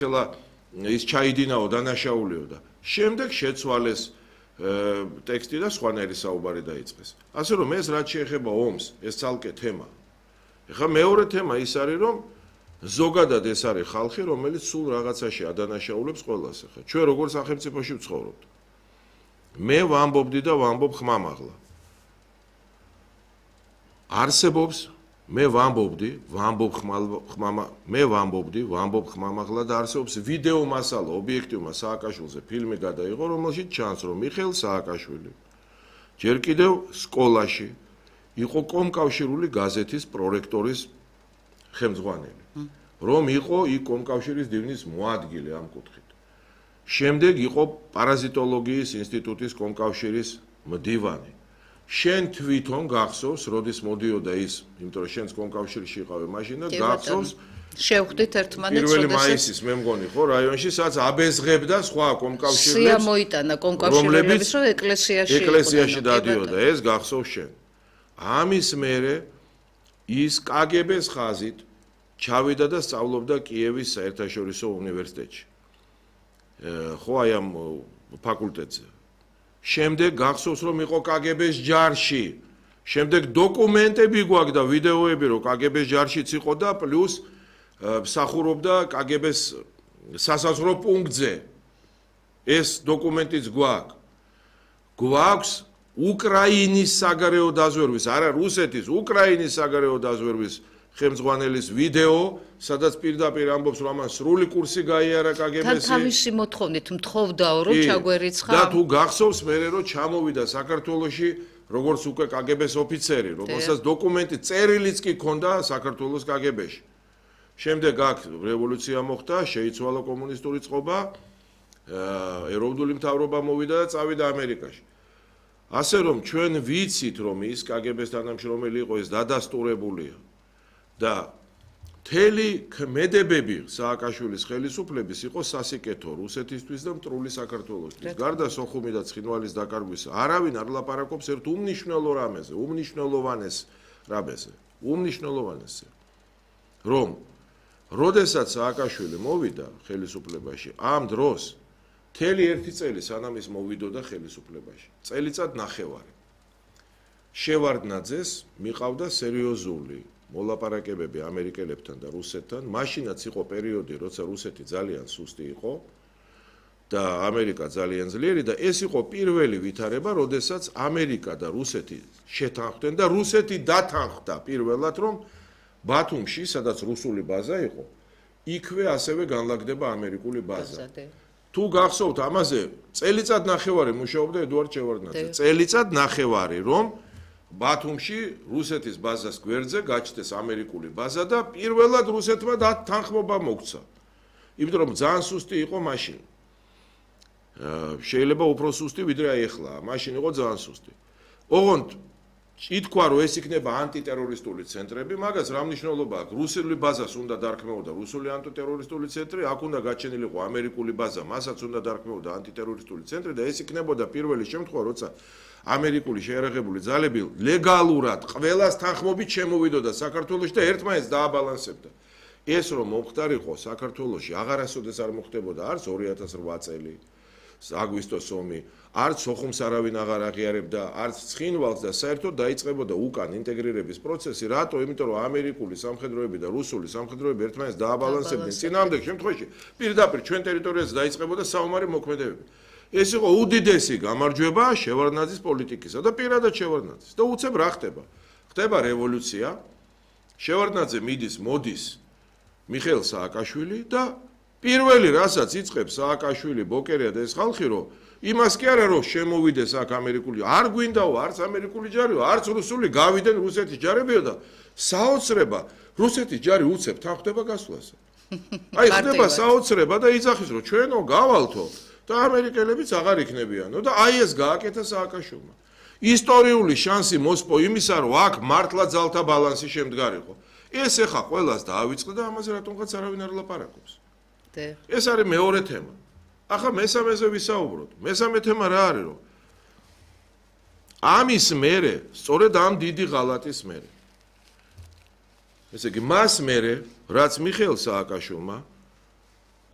ის ჩაიდინაო დანაშაულიო და შემდეგ შეცვალეს ტექსტი და სხვანაირი საუბარი დაიწყეს. ასე რომ ეს რაც შეეხება ომს, ეს ცალკე თემა. ეხლა მეორე თემა ის არის რომ ზოგადად ეს არის ხალხი, რომელიც სულ რაღაცაში ადანაშაულებს ყველას. ეხლა ჩვენ როგორ სახელმწიფოში ვცხოვრობთ. მე ვამბობდი და ვამბობ ხმამაღლა. არსებობს მე ვამბობდი ხმამაღლა და არსებობს ვიდეო მასალა ობიექტივმა სააკაშვილზე ფილმი გადაიღო, რომელშიც ჩანს რომ მიხეილ სააკაშვილი ჯერ კიდევ სკოლაში იყო კომკავშირული გაზეთის პროექტორის ხელმძღვანელი, რომ იყო იქ კომკავშირის დივნის მოადგილე ამ კუთხით. შემდეგ იყო პარაზიტოლოგიის ინსტიტუტის კომკავშირის მდივანი. შენ თვითონ გახსოვს, როდის მოდიოდა ის, იმიტომ რომ შენც კომკავშირში იყავე მაშინ და გახსოვს შევხვდით ერთმანეთს, პირველი მაისის მე მგონი ხო რაიონში, სადაც აბეზღებდა სხვა კომკავშირლებს. სია მოიტანა კომკავშირლებს, რომ ეკლესიაში დადიოდა, ეს გახსოვს შენ. ამის მერე ის კგბ-ს ხაზით ჩავიდა და სწავლობდა კიევის საერთაშორისო უნივერსიტეტში. ხო აი ამ ფაკულტეტზე. შემდეგ გახსოვს რომ იყო კგბ-ს ჯარში. შემდეგ დოკუმენტები გვაქვს და ვიდეოები რომ კგბ-ს ჯარშიც იყო და პლუს მსახურობდა კგბ-ს სასაზღვრო პუნქტზე. ეს დოკუმენტიც გვაქვს. გვაქვს უკრაინის საგარეო დაზვერვის, არა რუსეთის, უკრაინის საგარეო დაზვერვის ხელმძღვანელის ვიდეო, სადაც პირდაპირ ამბობს რომ ამან სრული კურსი გაიარა კგბ-ს. თავისი მოთხოვნით მთხოვდაო რომ ჩაგვერიცხა. და თუ გახსოვს მერე რომ ჩამოვიდა საქართველოში როგორც უკვე კგბ-ს ოფიცერი, რომელსაც დოკუმენტი წერილიც კი ქონდა საქართველოს კგბ-ში. შემდეგ აქ რევოლუცია მოხდა, შეიცვალა კომუნისტური წყობა, ეროვნული მთავრობა მოვიდა და წავიდა ამერიკაში. ასე რომ ჩვენ ვიცით რომ ის კგბ-ს თანამშრომელი იყო, ეს დადასტურებულია. და მთელი ქმედებები სააკაშვილის ხელისუფლების იყო სასიკეთო რუსეთისთვის და მტრული საქართველოსთვის. გარდა სოხუმი და ცხინვალის დაკარგვის არავინ არ ლაპარაკობს ერთ უმნიშვნელო რამეზე, უმნიშვნელოვანესზე. რომ როდესაც სააკაშვილი მოვიდა ხელისუფლებაში, ამ დროს მთელი ერთი წელი სანამ ის მოვიდოდა ხელისუფლებაში, წელიწად ნახევარი. შევარდნაძეს მიყავდა სერიოზული მოლაპარაკებები ამერიკელებთან და რუსეთთან. მაშინაც იყო პერიოდი, როცა რუსეთი ძალიან სუსტი იყო და ამერიკა ძალიან ძლიერი და ეს იყო პირველი ვითარება, როდესაც ამერიკა და რუსეთი შეთანხმდნენ და რუსეთი დათანხმდა პირველად, რომ ბათუმში, სადაც რუსული ბაზა იყო, იქვე ასევე განლაგდება ამერიკული ბაზა. თუ გახსოვთ ამაზე, წელიწად ნახევარი მუშაობდა ედუარდ შევარდნაძე. წელიწად ნახევარი, რომ ბათუმში რუსეთის ბაზას გვერდზე გაჩნდეს ამერიკული ბაზა და პირველად რუსეთმა თანხმობა მოგვცა. იმიტომ რომ ძალიან სუსტი იყო მაშინ. შეიძლება უფრო სუსტი ვიდრე აი ახლა. მაშინ იყო ძალიან სუსტი. ოღონდ ითქვა რომ ეს იქნება ანტიტერორისტული ცენტრები, მაგას რა მნიშვნელობა აქვს? რუსული ბაზას უნდა დარქმეოდა რუსული ანტიტერორისტული ცენტრი, აქ უნდა გაჩენილიყო ამერიკული ბაზა, მასაც უნდა დარქმეოდა ანტიტერორისტული ცენტრი და ეს იქნებოდა პირველი შემთხვევა, როცა ამერიკული შეიარაღებული ძალები ლეგალურად ყველას თანხმობით შემოვიდოდა საქართველოში და ერთმანეთს დააბალანსებდა. ეს რომ მომხდარიყო საქართველოში აღარასოდეს არ მოხდებოდა, არც 2008 წელი, აგვისტოს ომი, არც სოხუმს არავინ აღარ აღიარებდა, არც ცხინვალს და საერთოდ დაიწყებოდა უკან ინტეგრირების პროცესი, რატო? იმიტომ რომ ამერიკული სამხედროები და რუსული სამხედროები ერთმანეთს დააბალანსებდნენ. წინააღმდეგ შემთხვევაში პირდაპირ ჩვენ ტერიტორიაზე დაიწყებოდა საომარი მოქმედებები. ეს იყო უდიდესი გამარჯვება შევარდნაძის პოლიტიკისა და პირადად შევარდნაძის. და უცებ რა ხდება? ხდება რევოლუცია. შევარდნაძე მოდის მიხეილ სააკაშვილი და პირველი რასაც იწყებს სააკაშვილი, ბოკერია და ეს ხალხი, რომ იმას კი არა რომ შემოვიდეს აქ ამერიკული, არ გვინდაო არც ამერიკული ჯარიო, არც რუსული, გავიდნენ რუსეთის ჯარებიო და საოცრება რუსეთის ჯარი უცებ თანხდება გასვლაზე. აი ხდება საოცრება და იძახის რომ ჩვენო გავალთო და ამერიკელებიც აღარ იქნებიანო და აი ეს გააკეთა სააკაშვილმა. ისტორიული შანსი მოსპო იმისა, რომ აქ მართლა ძალთა ბალანსი შემდგარიყო. ეს ეხა ყველას დაავიწყდა და ამაზე რატომღაც არავინ არ ლაპარაკობს. ეს არის მეორე თემა. ახლა მესამეზე ვისაუბროთ. მესამე თემა რა არის, რომ ამის მერე, სწორედ ამ დიდი ღალატის მერე. ესე იგი, მას მერე, რაც მიხეილ სააკაშვილმა